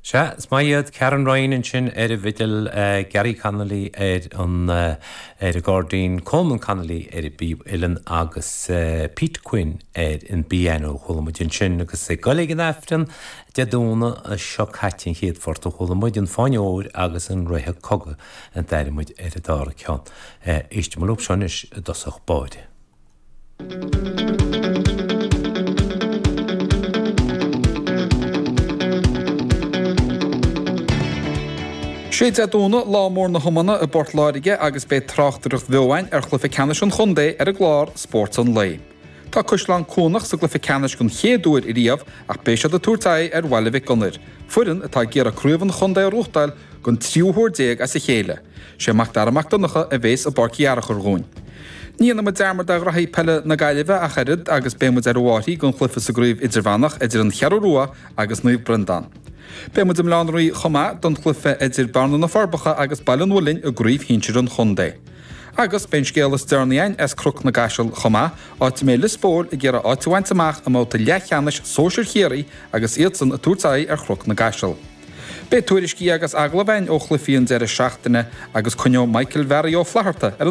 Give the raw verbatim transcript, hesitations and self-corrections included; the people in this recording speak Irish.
Sea, is maith iad Karen Ryan ansin ar an bhfidil Gary Connolly ar an ar an gcairdín Coleman Connolly ar an bpíb uilleann agus Pete Quinn ar an bpianó chuala muid ansin agus ag dul ag an Aifreann Dé Domhnaigh seo caite an chéad phort a chuala muid an Fáinne Óir agus an Reithe Cogaidh an d'airigh muid ar an dara ceann. Éistfidh muid leo seo anois i dtosach báire. Sé Dé Domhnaigh lá mór na hiomána i bPort Láirge agus beidh tráchtaireacht bheo againn ar chluiche ceannais an chontae ar an gclár Spórt an Lae. Tá Caisleán Cuanach sa gcluiche ceannais den chéad uair riamh ach beidh siad ag tabhairt aghaidh ar Bhaile Mhic Gonair, foireann atá ag iarraidh craobh an chontae a ghnóthachtáil don tríú huair déag as a chéile. Sé Mac Dara Mac Donncha a bhéas i bPáirc Uí Fhearchair dhúinn. Ní dhéanfaidh muid dearmad ar ghraithí peile na Gaillimhe ach oiread agus beidh muid ar an láthair don chluiche sa gcraobh idirmheánach idir an Cheathrú Rua agus Naomh Breandán. Beidh muid i mBaile Átha an Rí chomh maith don chluiche idir Bearna na Forbacha agus Baile an Mhuilinn i gcraobh shinsir an chontae. Agus beidh an scéal is deireanaí againn as Cnoc na gCaiseal chomh maith, áit a mbeidh Lios Póil ag iarraidh áit a bhaint amach i mbabhta leathcheannais sóisir Chiarraí agus iadsan ag tabhairt aghaidh ar Chnoc na gCaiseal. Beidh tuairiscí agus agallaimh againn ó chluichí an deireadh seachtaine agus coinneoidh Michael Mhearaí Ó Flatharta ar an